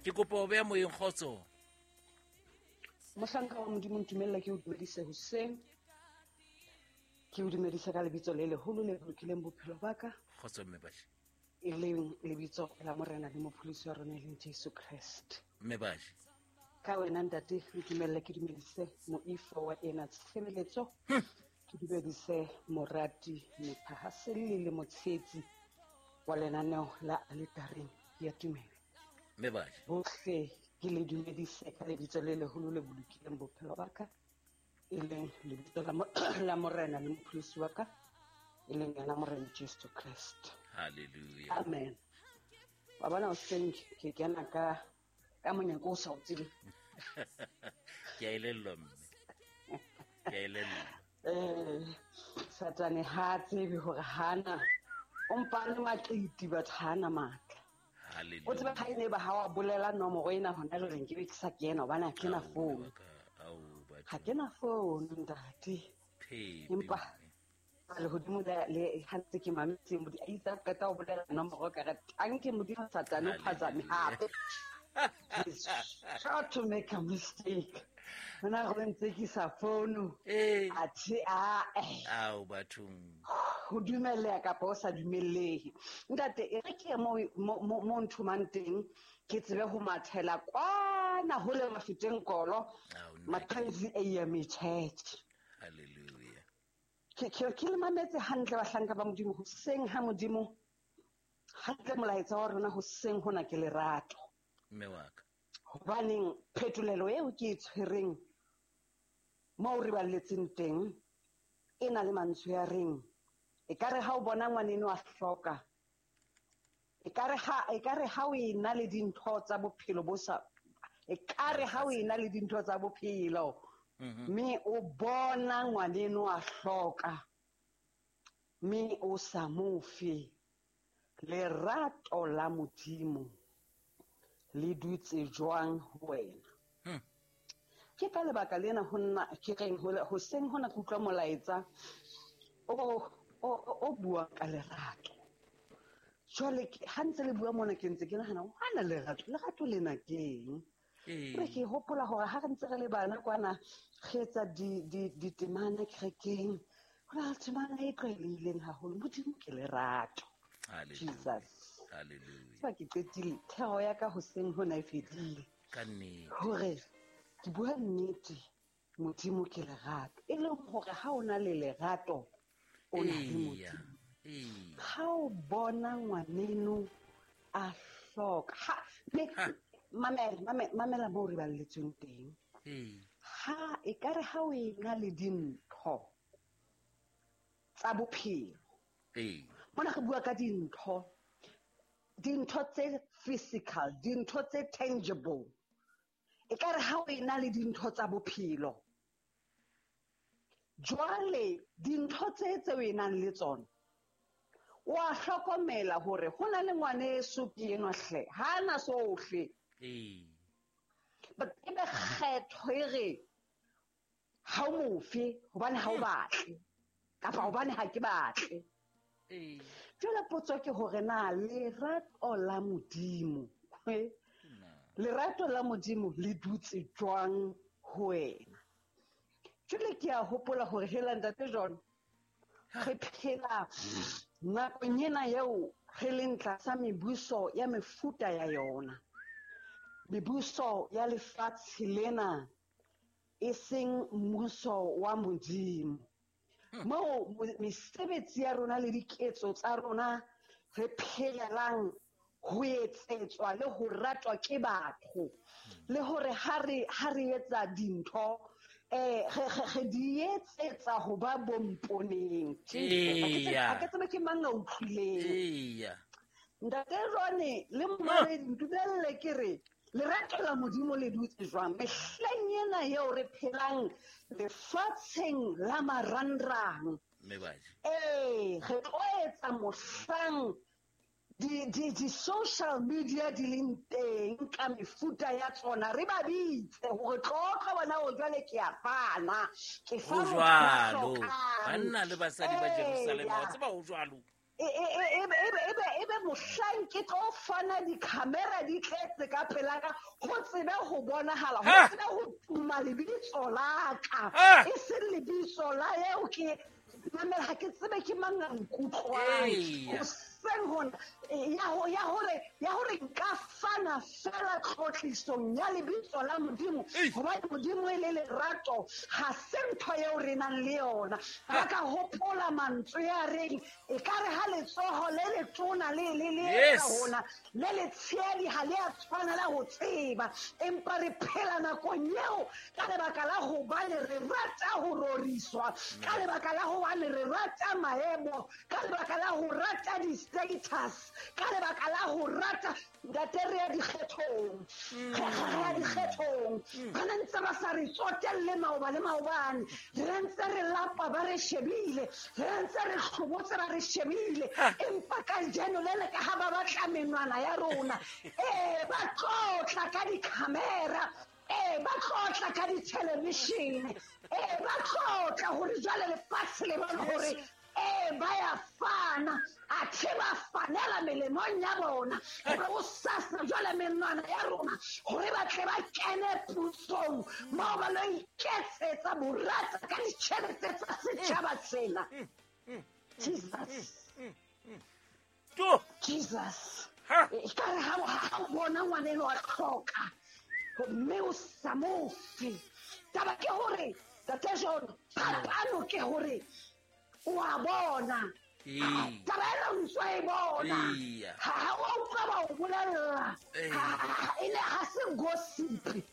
Ke kopa ho beha moyeng, kgotso. Mohlanka wa Modimo, ntumella ke o dumedise hoseng. Ke o dumedise ka lebitso le leholo le bolokileng bophelo ba ka. Kgotso mme Baji. E leng lebitso la Morena le Mopholosi wa rona e leng Jesu Kreste. Mme Baji. Ka wena ntate, ntumelle ke dumedise moifo wa ena tshebeletso. Ke dumedise morati, mothahaselli le motshehetsi wa lenaneo la Aletareng ya Tumelo. Mme Baji. Bohle ke le dumedise ka lebitso le leholo le bolokileng bophelo ba ka, e leng lebitso la Morena le Mopholosi wa ka, e leng yena Morena Jesu Kreste. Hallelujah. Amen. Wa bona hoseng ke kena ka monyako o sa o tsebeng. Ke a elellwa mme. Ke a elellwa. Satane ha a tsebe hore hana o mpane maqiti, batho hana matla. Hallelujah. O tsebe ha e ne ba ha wa bolela nomoro ena hona jwale nke be ke sa kena hobane ha ke na Ao, phone. baka, ao, batho. Ha ke na phone ntate. Phepi, Empa mme. lehodimo le ha ntse ke mametse Modimo, a itse a qeta ho bolela nomoro ka re tanke Modimo Satane o phazame hape. He's sure to make a mistake. Hona go ntse ke sa phone. Eh. Athe a eh. Ao bathong. Ho dumelleha kapa o sa dumellehe. Ntate, e re ke ye mo nthomang teng, ke tsebe ho mathela kwana hole mafeteng kolo, Ao, nna. Mackenzie AME Church. Hallelujah. Ke le mametse hantle bahlanka ba Modimo, hoseng ha Modimo, hantle molaetsa wa rona hoseng hona ke lerato. Mme wa ka. Hobaneng phetolelo eo ke e tshwereng moo re balletseng teng e na le mantswe a reng ekare ha o bona ngwaneno a hloka, ekare ha o ena le dintho tsa bophelo bo sa, ekare ha o ena le dintho tsa bophelo, mme o bona ngwaneno a hloka, mme o sa mo fe, lerato la Modimo le dutse jwang ho wena? Ke ka lebaka lena ho nna ke reng hoseng hona ke utlwa molaetsa o buang ka lerato. Jwale ha ntse le bua mona ke ntse ke nahana, hana lerato, lerato lena ke eng? Re ke hopola hore ha re ntse re le bana kwana, re etsa ditemana kerekeng, ho na le temana e tlwaelehileng haholo, Modimo ke lerato. Hallelujah. Jesus. Hallelujah. Tseba ke qetile thero ya ka hoseng hona e fedile. Ka nnete. Hore ke bua nnete, Modimo ke lerato. E leng hore ha o na le lerato, o na le Eya. Modimo. Eya. Ha o bona ngwaneno a hloka, ha, me, Ha. mamela, mamela, mamela moo re balletsweng teng. Ee. Ha, ekare ha o ena le dintho tsa bophelo. Ee. Mona re bua ka dintho, dintho tse physical, dintho tse tangible. Ekare ha o ena le dintho tsa bophelo, jwale dintho tse o enang le tsona, wa hlokomela hore ho na le ngwaneso ke enwa hle, ha ana sohle. Ee. But ebe kgetho e re ha o mofe hobane ha o batle, kapa hobane ha ke batle. Ee. Jwale potso ke hore na lerato la Modimo, he? Na. Lerato la Modimo le dutse jwang ho wena? Jwale ke a hopola hore hela ntate John, re phela nakong ena eo re leng tlasa mebuso ya mefuta ya yona. Mebuso ya lefatshe lena e seng mmuso wa Modimo. Moo mesebetsi ya rona le diketso tsa rona re phelelang ho etsetswa le ho ratwa ke batho, le hore ha re etsa dintho, re di etsetsa ho ba bomponeng. Jesus, Eya. ha ke tsebe ke mang a utlwileng. Eya. Ntate Rone le Mmamedi, ntumelle ke re lerato la Modimo le dutse jwang mehleng ena eo re phelang lefatsheng la marangrang. Mme Baji. Ee, re tlo etsa mohlang di social media di leng teng ka mefuta ya tsona, re ba bitse hore tlotlo bona o jwale ke a fana, ke fa Ho motho ya jwalo. hlokang. Banna le basadi ba Jerusalema, wa Eya. tseba ho jwalo. Ebe mohlang ke tlo fana di-camera di tletse ka pela ka, ho tsebe ho bonahala, ho tsebe ho tuma lebitso la ka. E seng lebitso la eo ke mamela, ha ke tsebe ke mang a nkutlwang. Hoseng hona, ya hore nka fana fela tlotlisong ya lebitso la Modimo, hobane Modimo e le lerato, ha se ntho eo re nang le yona. Ba ka hopola mantswe a reng, ekare ha letsoho le letona le le le etsa hona, le letshehadi ha le a tshwanela ho tseba. Empa re phela nakong eo ka lebaka la hobane re rata ho roriswa, ka lebaka la hobane re rata maemo, ka lebaka la ho rata di-status, ka lebaka la ho rata ntate re ya dikgethong. Re ya dikgethong. Ba ne ntse ba sa re tsotelle maoba le maobane. Re ntse re lapa ba re shebile. Re ntse re hlobotse ba re shebile. Empa kajeno le le ka ha ba batla menwana ya rona. Ba tlotla ka di-camera. Ba tlotla ka di-television. Ba tlotla hore jwale lefatshe le bone hore ba ya fana, athe ba fanela melemong ya bona. Hore o sasa jwale menwana ya rona, hore ba tle ba kene pusong, moo ba lo iketsetsa borata ka ditjhelete tsa setjhaba sena. Jesus. Jesus. Ekare ha o bona ngwaneno a hloka, mme o sa mo fe. Taba ke hore, Ntate John, phapano ke hore o a bona. Taba ena o ntso e bona. Ha o utlwa ba o bolella. E ne ha se gossip.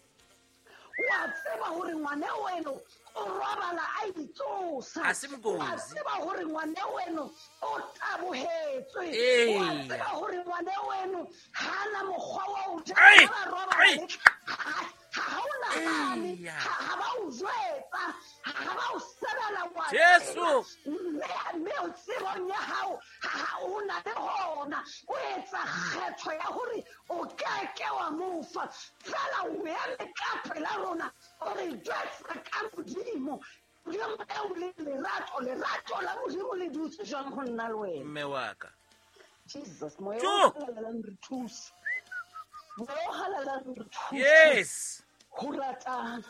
O a tseba hore ngwana weno o robala a itsosa. O a tseba hore ngwana weno o tabohetswe. O a tseba hore ngwana weno ha na mokgwa wa ho ja, ba robala le ha o nahane, ha ba o jwetsa, ha ba o sebela wa Jesu. Mme o tsebong ya hao, ha o na le hona, o etsa kgetho ya hore o keke wa mo fa. Fela o eme ka pela rona, o re jwetsa ka Modimo. Modimo eo le lerato, lerato la Modimo le dutse jwang ho nna le wena? Mme wa ka. Jesus, moya o halalelang re thuse. Moya o halalelang re thuse. Yes. Ho ratana.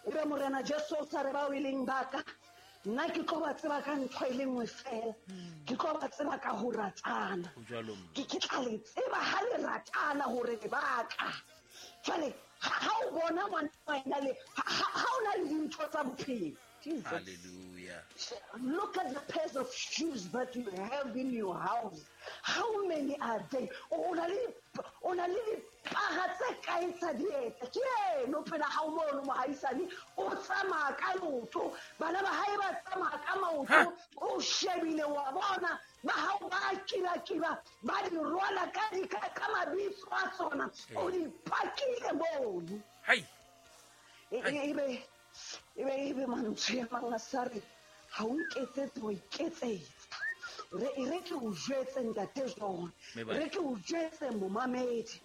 Ebe Morena Jesu o sa re bao e leng ba ka, nna ke tlo ba tseba ka ntho e le nngwe fela. Ke tlo ba tseba ka ho ratana. Ho jwalo, mme. Ke tla le tseba ha le ratana hore le ba ka. Jwale, ha o bona ngwana wa ena le, ha o na le dintho tsa bophelo. Jesus. Hallelujah. Look at the pairs of shoes that you have in your house. How many are they? O na le dipaha tse kae tsa dieta? Ke eno phela ha o mono mohaisane, o tsamaya ka leoto, bana ba hae ba tsamaya ka maoto, o shebile wa bona, ba hao ba kiba-kiba, ba di rwala ka mabitso a tsona, o di pakile mono. Hai. Ebe mantswe a mang a sa re, ha o nketsetse wa iketsetsa. Re ke o jwetse Ntate John, re ke o jwetse momamedi.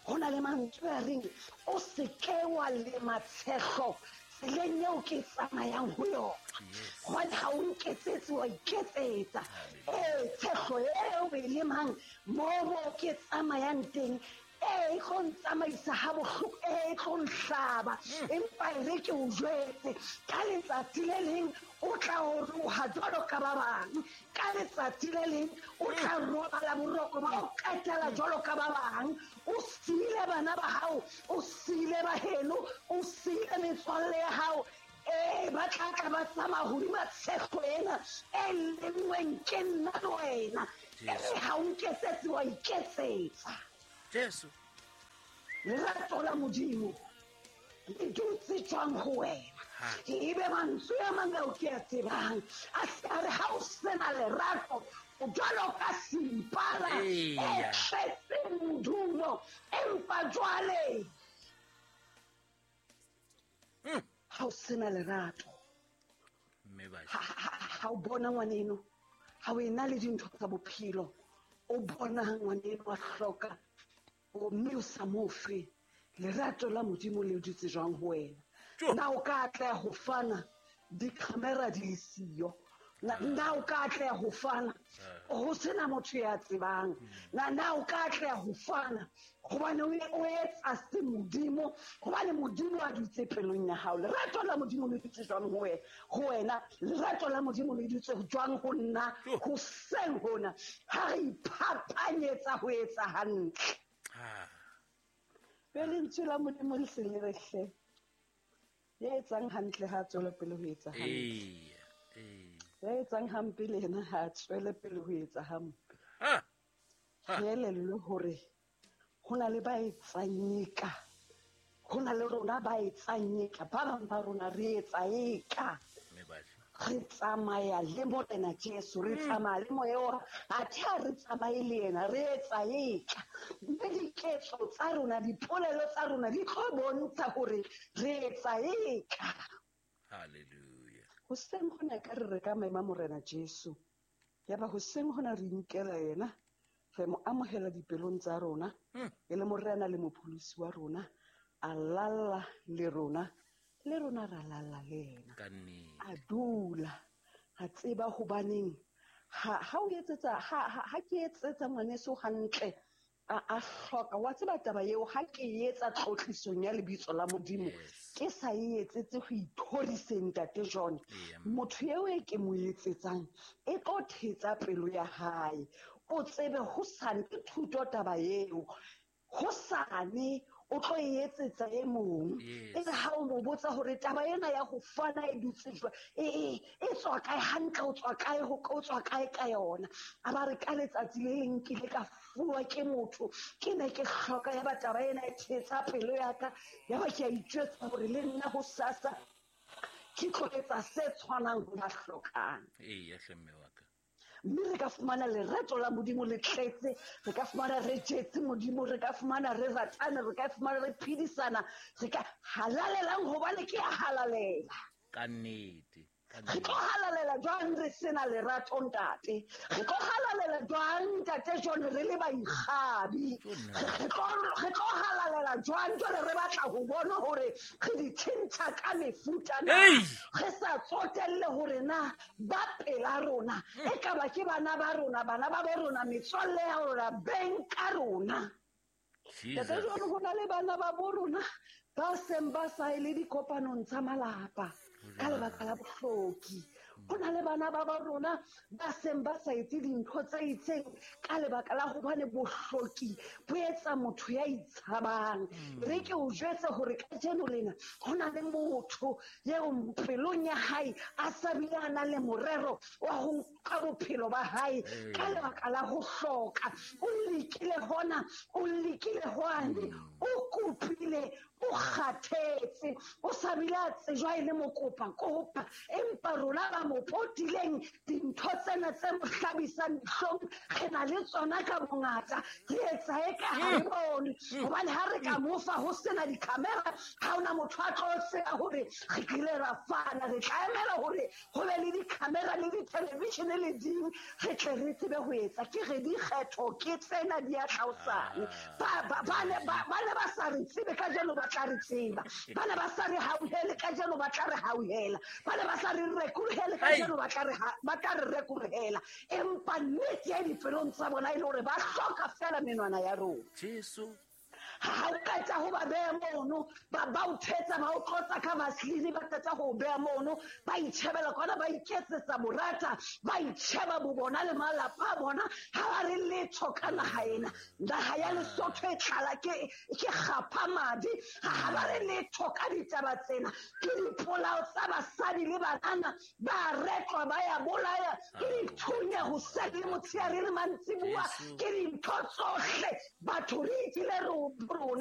Ho na le mantswe a reng, o se ke wa lema tshehlo tseleng eo ke tsamayang ho yona. Hobane ha o nketsetse wa iketsetsa. Tshehlo eo e lemang moo ke tsamayang teng, e tlo ntsamaisa ha bohloko, e tlo nhlaba. Empa e re ke o jwetse, ka letsatsi le leng o tla oroha jwalo ka ba bang. Ka letsatsi le leng o tla robala boroko ba o qetela jwalo ka ba bang. O siile bana ba hao, o siile ba heno, o siile metswalle ya hao. Ba tla tla ba tsamaya hodima tshehlo ena e lengweng ke nna le wena. Ha o nketsetse wa iketsetsa. Jesu. Lerato la Modimo le dutse jwang ho wena? Ebe mantswe a mang ao ke a tsebang, a se a re ha o sena lerato, o jwalo ka sempala e tletseng modumo, empa jwale ha o sena lerato, ha o bona ngwaneno, ha o ena le dintho tsa bophelo, o bona ngwaneno a hloka, mme o sa mo fe. Lerato la Modimo le dutse jwang ho wena? Na o ka atleha ho fana di-camera di le siyo? Na o ka atleha ho fana ho sena motho ya tsebang? Na o ka atleha ho fana hobane o etsa se Modimo, hobane Modimo a dutse pelong ya hao? Lerato la Modimo le dutse jwang ho wena? Lerato la Modimo le dutse jwang ho nna? Hoseng hona ha re iphapanyetsa ho etsa hantle. Be lentswe la Modimo le se le re hle, ya etsang hantle ha tswele pele ho etsa hantle. Ya etsang hampe le yena ha tswele pele ho etsa hampe. Re elellwe hore ho na le ba etsang eka, ho na le rona ba etsang eka, ba bang ba rona re etsa eka. Re tsamaya le Morena Jesu, re tsamaya le moya wa athe ha re tsamaye le yena, re etsa eka. Mme diketso tsa rona, dipolelo tsa rona di tlo bontsha hore re etsa eka. Hallelujah. Hoseng hona ka re ka mema Morena Jesu. Yaba hoseng hona re inkela yena, re mo amohela dipelong tsa rona, e le Morena le Mopholosi wa rona, a lalla le rona, le rona ra lalla le yena. A dula, a tseba hobaneng ha o etsetsa ha ke etsetsa ngwaneso hantle, a hloka wa tseba taba eo, ha ke etsa tlotlisong ya lebitso la Modimo, ke sa e etsetse ho ithoriseng Ntate John. Motho eo e ke mo etsetsang e tlo thetsa pelo ya hae. O tsebe hosane ke thuto taba eo, hosane o tlo e etsetsa e mong. E re ha o mo botsa hore taba ena ya ho fana e dutse jwang, e tswa kae hantle, o tswa kae, o tswa kae ka yona. A ba re ka letsatsi le leng ke ile ka fuwa ke motho, ke ne ke hloka, ya ba taba ena e thetsa pelo ya ka, ya ba ke a itjwetsa hore le nna hosasa ke tlo etsa se tshwanang ho ba hlokang. Eya hle mme wa ka. Mme re ka fumana lerato la Modimo le tletse, re ka fumana re jetse Modimo, re ka fumana re ratana, re ka fumana re phedisana, re ka halalelang hobane ke a halalela. Ka nnete. Re tlo halalela jwang re sena lerato ntate? Re tlo halalela jwang ntate John re le baikgabi? Re tlo halalela jwang jwale re batla ho bona hore re di tjhentjha ka mefuta na? Re sa tsotelle hore na ba pela rona, e ka ba ke bana ba rona, bana ba bo rona, metswalle ya rona, beng ka rona. Ntate John, ho na le bana ba bo rona ba seng ba sa ye le dikopanong tsa malapa ka lebaka la bohloki. Ho na le bana ba ba rona ba seng ba sa etse dintho tse itseng ka lebaka la hobane bohloki bo etsa motho ya itshabang. Re ke o jwetse hore kajeno lena ho na le motho eo pelong ya hae a sa bile a na le morero wa ho nka bophelo ba hae ka lebaka la ho hloka. O lekile hona, o lekile hwane, o kopile, o kgathetse, o sa bile a tsejwa e le mokopa-kopa. Empa rona ba mo potileng dintho tsena tse mo hlabisang dihlong re na le tsona ka bongata, re etsa eka ha re bone. Hobane ha re ka mo fa ho sena di-camera, ha hona motho a tlo tseba hore re kile ra fana. Re tla emela hore ho be le di-camera le di-television le ding, re tle re tsebe ho etsa. Ke re dikgetho ke tsena di a tla hosane. Ba ne ba sa re tsebe kajeno ba tla re tseba. Ba ne ba sa re hauhele kajeno ba tla re hauhela. Ba ne ba sa re rekolohele kajeno ba tla re rekolohela. Empa nnete ya dipelong tsa bona e le hore ba hloka feela menwana ya rona. Jesu. Ha o qeta ho ba beha mono, ba o thetsa, ba o tlotsa ka vaseline, ba qeta ho o beha mono, ba itjhebela kwana, ba iketsetsa borata, ba itjheba bo bona le malapa a bona, ha ba re letho ka naha ena. Naha ya Lesotho e tlala ke kgapha madi, ha ba re letho ka ditaba tsena. Ke dipolao tsa basadi le banana, ba retlwa, ba ya bolaya, ke dithunya hoseng le motshehare le mantsibuya, ke dintho tsohle. Batho re ikile rona.